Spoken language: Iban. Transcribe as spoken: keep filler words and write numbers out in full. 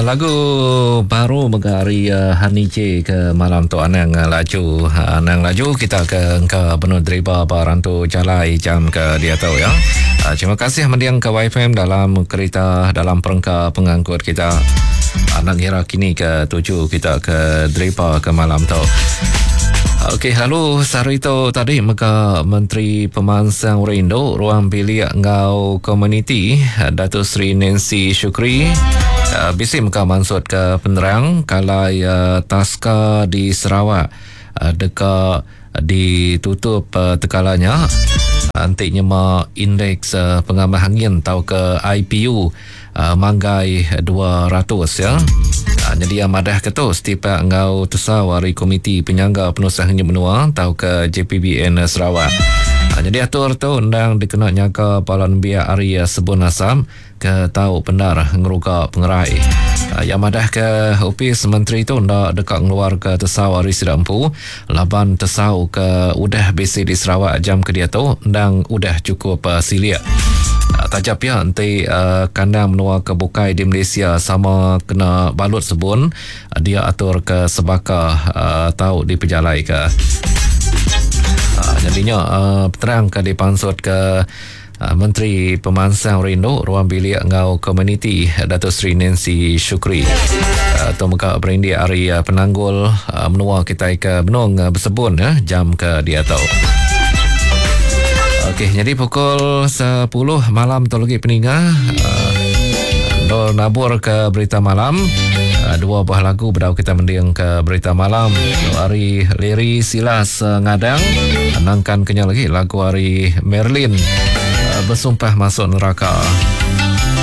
Lagu baru mega ari Honey J ke malam tu anang laju. Anang laju kita ke engka benung deriba ba rantu jalai jam ke diatu ya. Terima kasih mending ke Y F M dalam kereta, dalam perengka pengangkut kita. Anang ngira kini ke tuju kita ke deriba ke malam tu. Okey, lalu sehari tu tadi mega Menteri Pemansang Rindu Ruang Bilik Ngau Komuniti Datuk Seri Nancy Shukri uh, bisi mega maksud ke penerang kalau uh, Taska di Sarawak uh, deka ditutup uh, tekalanya anti nyema indeks uh, pengamah angin atau ke I P U uh, manggai dua ratus ya. Uh, jadi yang madah ke tu setipak ngau tesau hari Komiti Penyangga Penusah Ngenyit Menua atau ke J P B N Sarawak. Uh, jadi atur tu endang dikena nyaga bala nembiak hari uh, sebun asam ke tau benar ngeruga pengerai. Uh, yang madah ke Opis Menteri tu ndak dekat ngeluar ke tesau hari Sidampu laban tesau ke udah bisi di Sarawak jam ke dia tu endang udah cukup uh, siliak. Uh, tajap ya nanti uh, kandang menua ke bukai di Malaysia sama kena balut sebun uh, dia atur ke sebaka uh, tau dipejalai ke. Uh, jadinya uh, terang ke dipansut ke uh, Menteri Pemansang Rindu Ruang Bilik Ngau Komuniti Datuk Seri Nancy Shukri. Uh, tu muka berindik hari uh, penanggul uh, menua kita ke benung uh, bersebun uh, jam ke dia tu. Okey, jadi pukul sepuluh malam tu lagi peningah uh, dol nabur ke berita malam. Uh, dua buah lagu berdau kita mending ke berita malam. Hari Larry Silas uh, ngadang nangkan kenyal lagi lagu hari Merlin uh, bersumpah masuk neraka.